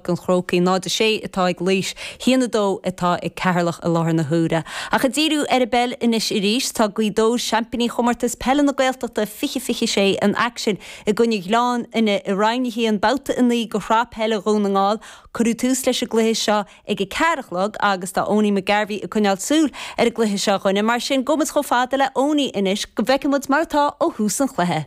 Pháirc an Chrócaigh. 0-6 atá ag Laois, 1-2 atá ag Ceatharlach i láthair na huaire. Ach ag díriú ar an bpeil anois arís, tá Gaoth Dobhair, seaimpíní Chomórtas Peile na Gaeltachta 2026 in aicsean i gcoinne Ghleann Fhinne i Roinn 1, Babhta 9 de Shraith Peile Dhún na nGall. Cuireadh tús leis an gcluiche seo ag a ceathair a chlog agus tá Owenie McGarvey ag coinneáil súil ar an gcluiche seo a dhuine. Mar sin, gabhfaidh muid chomh fada le Owenie anois go bhfeicfidh muid mar atá ó thús an chluiche.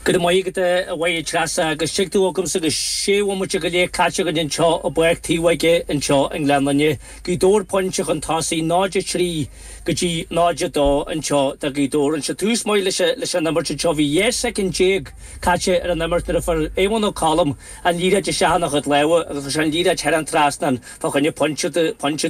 Go raibh maith agat a Mháire Treasa agus tig tú agamsa agus sé bhomaite go leith caite againn anseo i bPáirc Taobh Aige anseo i nGleann Fhinne. Gaoth Dobhair pointe chun tosaigh, 0-3 go dtí 0-2 anseo do Ghaoth Dobhair. Anseo tús maith leis an imirt anseo. Bhí 12 soicind caite ar an imirt nuair a fuair Eoin Ó Colm an liathróid isteach ina chuid lámha agus chuir sé an liathróid thar an trasnán fá choinne pointe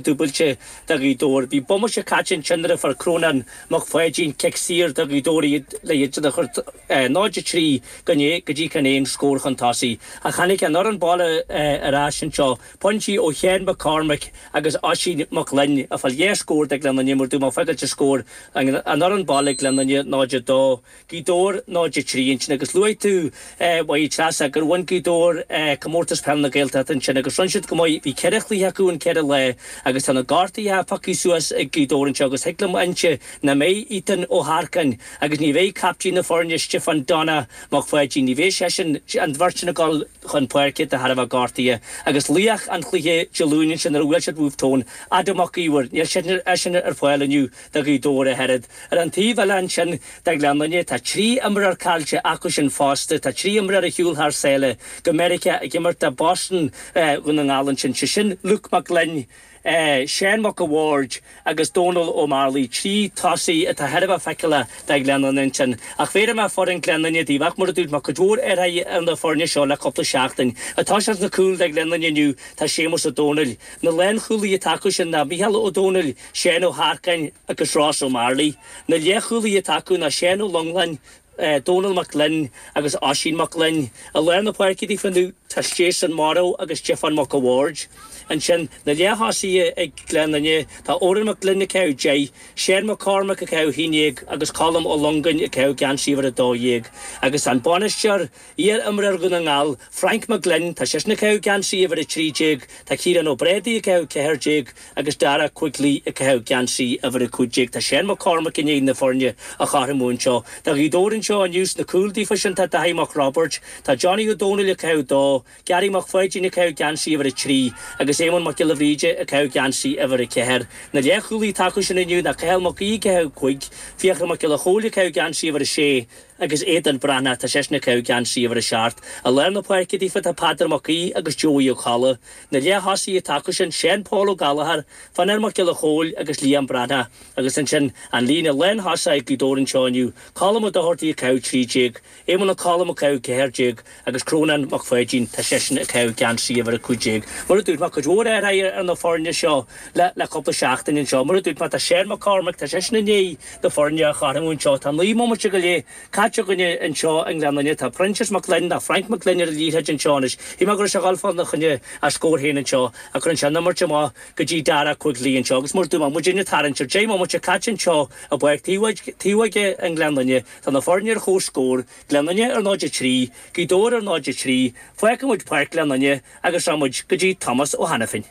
dúbailte do Ghaoth Dobhair. Bhí bomaite caite ansin nuair a fuair Crónán Mac Pháidín cic saor do Ghaoth Dobhair iad le iad a chur 0-3 go dtí chun aon scór chun tosaigh. Ach tháinig an fhoireann baile ar ais anseo, pointí ó Sheán McCormack agus Oisín Mac Gloinn a fáil dhá scór do Ghleann Fhinne mar dúirt mé fágáilt an scór an fhoireann baile Gleann Fhinne 0-2. Gaoth Dobhair 0-3 ansin agus luaigh tú, a Mháire Treasa, gur bhain Gaoth Dobhair Comórtas Peile na Gaeltachta ansin agus rinne siad go maith. Bhí ceithre chluiche acu in ceithre lá agus tá na gortuithe pioctha suas ag Gaoth Dobhair anseo agus thig liom a inse nach mbeidh Ethan Ó hEarcáin agus ní bheidh captaen na foirne Stiofán Donna Mac Pháidín, ní bheidh seisean, an bheirt sin ag dul chun páirce de thairbhe gortuithe agus laoch an chluiche Dé Luain ansin nuair a bhuail siad Wolfe Tone, Adam Mac Íomhair, níl seisean ar fáil inniu. Do Ghaoth Dobhair ach oiread. Ar an taobh eile ansin do Ghleann Fhinne tá 13 imreoir caillte acu sin fosta. Tá 3 imreoir ar shiúl thar sáile go Meiriceá ag imirt do Boston Dhún na nGall ansin, sé sin Luke Mac Gloinn, Seán Mac a' Bhaird agus Dónal Ó Mearlaí, 3 tosaí atá thar a bheith feiceálach do Ghleann Fhinne ansin. Ach bhéarfaidh mé foireann Ghleann Fhinne daoibh ach mar a dúirt mé, cuid mhór athruithe ar na foirne seo le cúpla seachtain. Ag toiseacht sna cúil do Ghleann Fhinne inniu tá Séamus Ó Dónaill. Na lánchúlaithe atá acu sin ná Micheál Ó Dónaill, Seán Ó hEarcáin agus Ross Ó Mearlaí. Na leathchúlaithe atá acu ná Seán Ó Longláin, Dónal Mac Gloinn agus Oisín Mac Gloinn. I lár na páirce daofa inniu tá Jason Morrow agus Stiofán Mac a' Bhaird. Ansin, na leath-thosaithe ag Gleann Fhinne, tá Odhrán Mac Gloinn ag caitheamh 10, Seán McCormack ag caitheamh 11 agus Colm Ó Longáin ag caitheamh geansaí uimhir 12. Agus an bainisteoir, Iar-imreoir Dhún na nGall, Frank McGlynn, tá seisean ag caitheamh geansaí uimhir 13, tá Ciarán Ó Brádaigh ag caitheamh 14 agus Dara Quigley ag caitheamh geansaí uimhir 15. Tá Seán McCormack i ndiaidh na foirne a chothromú anseo. Do Ghaoth Dobhair anseo inniu sna cúil daofa sin tá Daithí Mac Roibeaird, tá Johnny Ó Dónaill ag caitheamh 2, Gary Mac Pháidín ag caitheamh geansaí uimhir 3 agus Éamonn Mac Giolla Bhríde ag caitheamh geansaí uimhir 4. Na leathchúlaithe atá acu sin inniu ná Cathal Mac Aoidh ag caitheamh 5, Fiachra Mac Giolla Chóill ag caitheamh geansaí uimhir 6, Agus Aodán Breathnach, tá seisean ag caitheamh geansaí uimhir 7. I lár na páirce daofa tá Peadar Mac Aoidh agus Joey Ó Colla. Na leath-thosaithe atá acu sin, Seán Paul Ó Gallchóir, Fionnar Mac Giolla Chóill agus Liam Breathnach. Agus ansin, an líne lán-thosaigh ag Gaoth Dobhair anseo inniu, Colm Ó Dochartaigh ag caitheamh 13, Éamonn Ó Colm ag caitheamh 14 agus Crónán Mac Pháidín, tá seisean ag caitheamh geansaí uimhir 15. Mar a dúirt mé, cuid mhór athraithe ar na foirne seo le cúpla seachtain anseo. Mar a dúirt mé, tá Seán McCormack, tá seisean i ndiaidh na foirne a chothromú anseo. Tá 9 mbomaite go leith caite againne anseo i nGleann Fhinne. Tá Proinsias Mac Gloinn, nó Frank McGlynn ar an liathróid anseo anois. Shíl mé go raibh sé ag dul fá choinne a scór féin anseo ach cuireann sé an imirt amach go dtí Dara Quigley anseo. Agus mar a dúirt mé, muidinne ag tarraingt ar 10 mbomaite caite anseo i bPáirc Taobh Aige i nGleann Fhinne. Tá na foirne ar chomhscór, Gleann Fhinne ar 0-3, Gaoth Dobhair ar 0-3. Fágfaidh muid Páirc Ghleann Fhinne agus rachaidh muid go dtí Tomás Ó hAiniféin.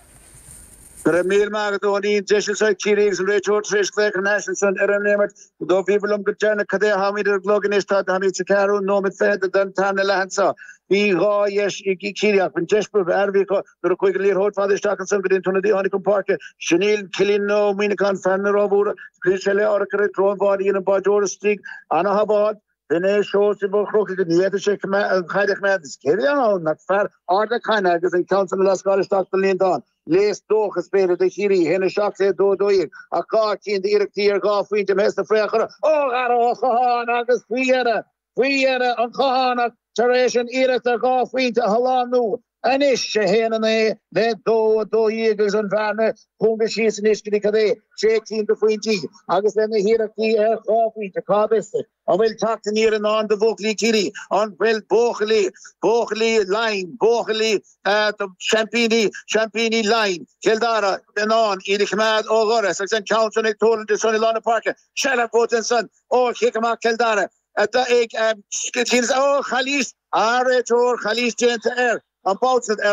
Go raibh míle maith agat, Eoinín. Deis anseo ag Ciarraí agus an réiteoir tar éis glaoch thar n-ais ansan ar an imirt. Do bhíobhair liom go deireanach cad é atáimid ar an gclog anois. Tá táimid sa cheathrú nóiméad fichead den tarna leath anseo. Bhí dhá dheis ag Ciarraí ach an deis ba fhearr a bhí acu nuair a chuaigh an liathróid fada isteach ansan go dtí an t-ionadaí a tháinig chun páirce. Sin í Cillian Ó Muíneacháin, fear na Ráth Mhóra. Scaoil sé le urchar i dtreo an bháid a dhein an báideoir istigh. Ana-shábháil. B'in é Seosamh Ó Crócaigh go ndéanfaidh sé an chaid a choimeád is cé a bhí ann ach fear Ard na Caithne agus an ceann san a lascáil isteach don líontán. Léas dóchais b'fhéidir do Chiarraí, 1-7 le 2-12 ach dhá cinn d'iarrachtaí ar dhá phointe imithe sna friochara ó Dhara Ó Catháin agus faoi dheireadh, faoi dheireadh an Cathánach tar éis an iarracht ar dhá phointe a shlánú. Anois, 1-9 le 2-12 agus an bhearna cúnga síos anois go dtí cad é, sé cinn de phointí agus le na hiarrachtaí ar dhá phointe, cá bhfios an bhfuil teacht aniar i ndán do bhuachaillí Chiarraí? An bhfuil buachaillí, buachaillí Laighean, buachaillí seaimpíní, seaimpíní Laighean, Chill Dara in ann iad a choimeád ó dhoras agus an ceann san ag tuirlingt ansan i lár na páirce, seilbh buaite ansan ó chic amach Chill Dara. Atá ag ó, calaois, a réiteoir, calaois déanta air, an babhta ar.